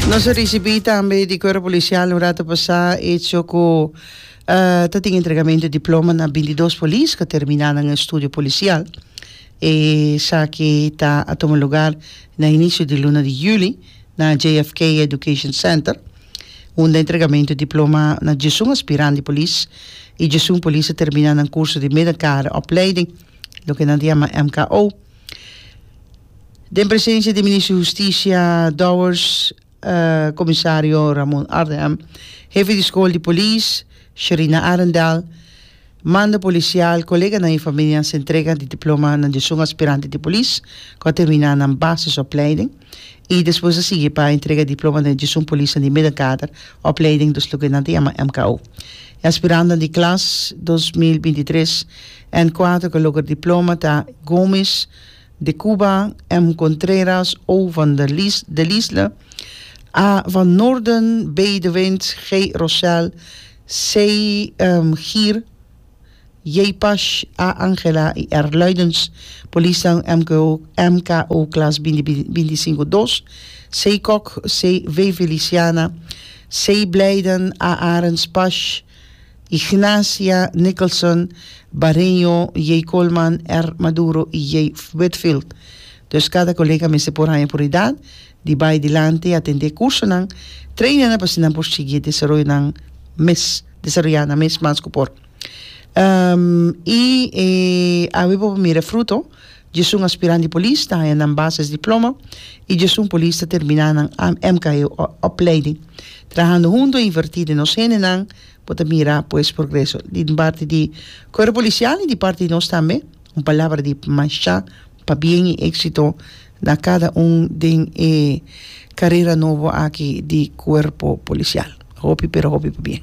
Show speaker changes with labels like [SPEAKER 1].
[SPEAKER 1] Nos a ricibi tambe di Cuerpo Policial un rato pasa hecho cu ta tin entregamento di diploma na bintidos polis cu a termina nan estudio policial. Esaki ta a tuma lugar na inicio di luna di juli na JFK Education Center unda entregamento di diploma na diesun aspirant di polis y diesun polis a termina nan curso di middelkare opleiding, loke nan ta yama MKO. Den presencia di Minister di Husticia Dowers, Comisario Ramon Arnhem, Hefe di School di Polis, Sherina Arendal, Mando Policial, coleganan y familianan se entrega di diploma na diesun aspirante di polis cu a termina nan basisopleiding y despues a sigui pa entrega diploma na diesun polisnan di middenkader opleiding, dus loke nan ta yama MKO. E aspirantenan di klas 2023 en kuater cu a logra diploma ta Gomes, De Cuba, M. Contreras, O. van der Lies, de Liesle, A. van Noorden, B. de Wind, G. Rosel, C. Gier, J. Pasch, A. Angela y R. Luidens. Polisnan MKO, MKO klas binti binti sinku dos, C. Kok, C. V. Feliciana, C. Blijden, A. Arends, Pasch, Ignacia Nicholson, Bareño, J. Coleman, R. Maduro y J. Whitfield. Dus cada colega mester por haña oportunidad di bay dilanti y atende cursonan, trainingnan pa asina nan por sigui desaroyo nan mes, desaroya nan mes mas cu por. Y e awe bo por mira fruto, djesun aspirant di polis ta haña nan basis diploma y djesun polis ta termina nan MKO opleiding. Trahando hunto y inverti den nos hendenan bo ta mira pues progreso. Di parti di Cuerpo Policial y di parti di nos tambe un palabra di masha pabien y exito na cada un den e carera nobo aki di Cuerpo Policial. Hopi pero hopi pabien.